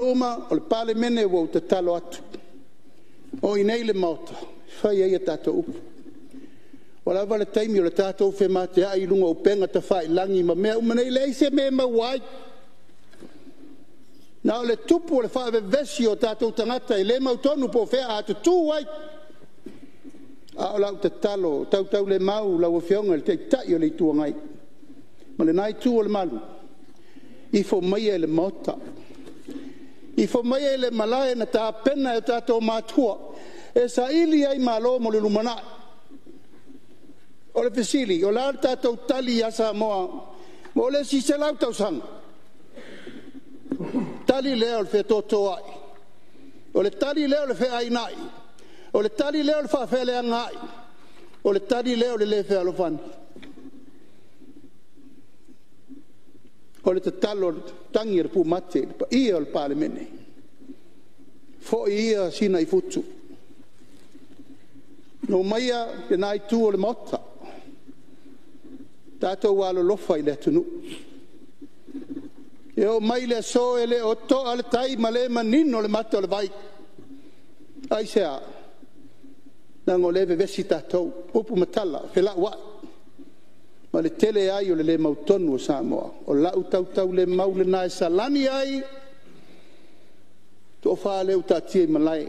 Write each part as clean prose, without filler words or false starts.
mamalu uma o le Palemene, ua ou tatalo atu, o i inei le Maota e fai ai a tatou upu. Ua lava le taimi o le tatou femateai i luga o upega tafailagi ma mea uma nei, e leai se mea e maua ai, na o le tupu o le faavevesi o tatou tagata e le mautonu po o fea a tutu ai. A o lau tatalo tautaulemau i lau Afioga i le Taitai o le Itu Agai ma lena Itu o le Malu, ifo maia i le Maota, ifo maia i le malae na tapena e o tatou matua e saili ai malo mo le lumanai. O le fesili, o le a le tatou tali ia Samoa mo le isi 100 tausaga? O le tali lea o le fetotoai, o le tali lea o le feainai, o le tali lea o le faafeleagaai, o le tali lea o le le fealofani. O le tatalo i le tagi a le pumate i le paia o le Palemene, foi ia Sina i futu, omaia lena Itu o le Maota, tatou alolofa i le atunuu. E oo mai i le aso e le o toa le tai ma le manino le mata o le vai. Aisea? Leaga o lea e vevesi tatou, upu ma tala, felauai ma le tele ai o le le mautonu o Samoa. O lau tautaulemau lena e salani ai le toa-fa lea ua taatia i malae,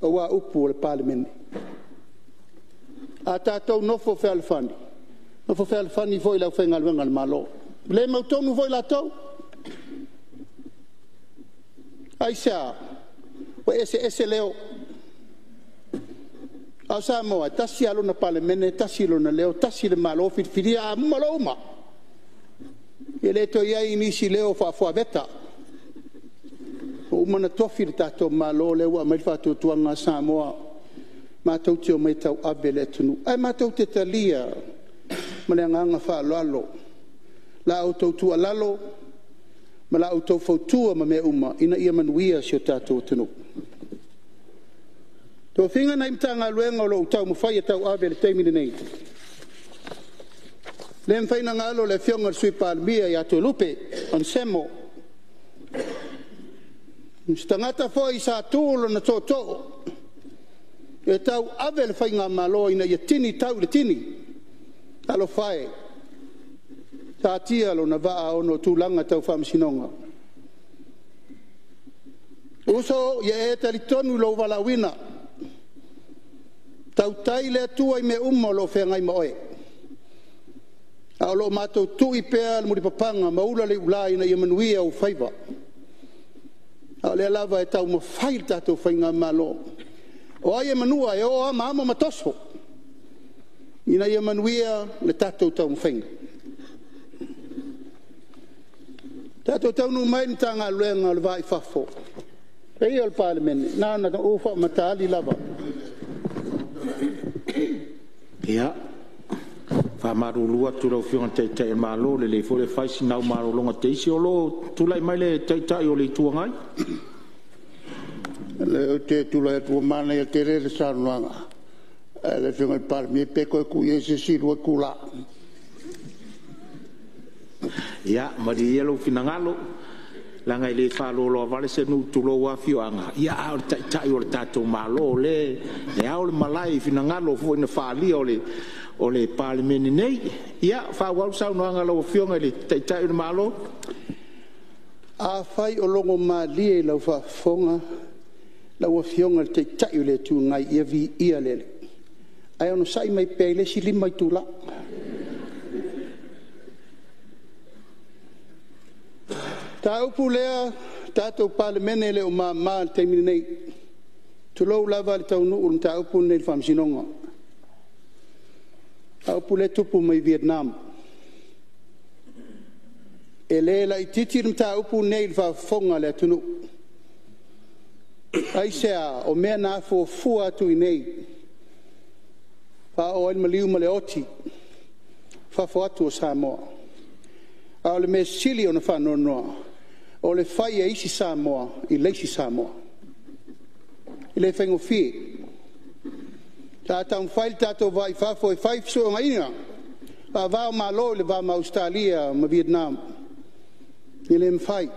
aua upu o le Palemene. A tatou nonofo fealofani, nonofo fealofani foi le aufaigaluega a le Malo, e le mautonu foi latou. Aisea? Ua eseese leo, a o Samoa, e tasi lava lona Palemene, tasi lona leo, tasi le Malo filifilia. A uma loa uma, e le toe i ai nisi leo faafuaveta, ua uma ona tofi le tatou Malo lea ua aumai le faatuatuaga a Samoa matou te omai e tauave le atunuu. Ae matou te talia ma le agaga faaaloalo la outou tuualalo ma la outou fautua ma mea uma ina ia manuia si o tatou atunuu. O tofiga nai Matagaluega o lo o ou taumafai e tauave i le taimi lenei, e le mafai ona galo le Afioga i le Sui Palemia ia Toelupe Onesemo. O se tagata foi sa tu lona tootoo e tauave le faigamalo ina ia tini tau i le tini. Talofa e, satia lona vaa ona o tulaga tau faamasinoga. Uso, ia e talitonu i lou valaauina, tautai le Atua i mea uma o lo o feagai ma oe, ae o lo o matou tui pea le mulipapaga ma ula le iula ina ia manuia ou faiva. A o lea lava e taumafai le tatou faigamalo, o ai e manua e o lava ma amo ma toso ina ia manuia le tatou taumafaiga. Tatou taunuu mai i le Matagaluega o le Va i Fafo, le paia e o le Palemene, na ona ou faamataali lava. Ia, e faamalulu atu i lau Afioga i le Taitai o le Malo, lelei foi le fai sina au malologa teisi o lo o tulai mai le Taitai o le Itu Agai. Ou te tulai atu ua manaia tele le saunoaga a le Afioga i le Palemia, pe toe tuu i ai se isi 2 itula. Ia, malie ia lou finagalo, leaga e le faaloaloa vale se nuu tulou lava afioaga, a o le Taitai o le tatou Malo o lea e ao le malae i finagalo foi na faaalia o le Palemene nei. Ia, faaauau le saunoaga a lau Afioga i le Taitai o le Malo. Afai o logomalie i lau faafofoga lau Afioga i le Taitai o le Itu Agai, ia viia le Alii, ae onosai mai pea i le isi 5 itula. O le mataupu lea le tatou Palemene e le o mama i le taimi lenei, tulou lava le taunuu o le mataupu lenei i le Faamasinoga, le mataupu lea e tupu mai Vietnam. E le laitiiti le mataupu lenei i le faafofoga a le atunuu. Aisea? O mea na afuafua atu i inei, faaoo ai le maliu ma le oti i fafo atu o Samoa. A o le mea sili ona faanoanoa, o le fai e isi Samoa i le isi Samoa. E le faigofie. Sa taumafai le tatou Va i Fafo e fai fesootaiga faava-o-Malo i le va ma Ausetalia ma Vietnam, e le mafai.